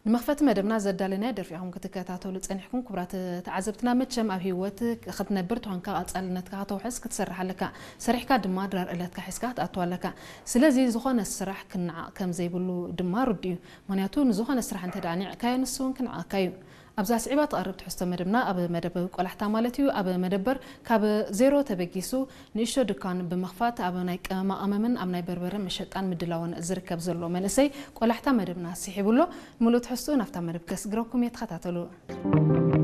ንመኽፈቲ መደብና ዘዳለናዮ ደርፊ ኢኹም ክትከታተሉ ጸኒሕኩም። ክቡራት ተዓዘብትና፣ መቸም ኣብ ህይወት ክትነብር ተኾንካ ቀጻልነትካ ከተውሕስ ክትሰርሕ ኣለካ። ሰሪሕካ ድማ ድራር ዕለትካ ሒዝካ ክትኣቱ ኣለካ። ስለዚ ዝኾነ ስራሕ ክነዓቕ ከም ዘይብሉ ድማ ርዱእ እዩ። ምኽንያቱ ንዝኾነ ስራሕ እንተ ደኣ ኒዕካዮ ንሱ እውን ክነዓቕካ እዩ። ኣብዛ ስዒባ ትቐርብ ትሕዝቶ መደብና ኣብ መደብ ቆላሕታ ማለት እዩ ኣብ መደበር ካብ ዜሮ ተበጊሱ ንእሽቶ ድኳን ብምኽፋት ኣብ ናይ ቀመማ ቀመምን ኣብ ናይ በርበረ መሸጣን ምድላውን ዝርከብ ዘሎ መንእሰይ ቆላሕታ መደብና ስሒቡ ኣሎ። ምሉእ ትሕዝትኡ ናብታ መደብ ከስግረኩም እየ፣ ተኸታተሉ።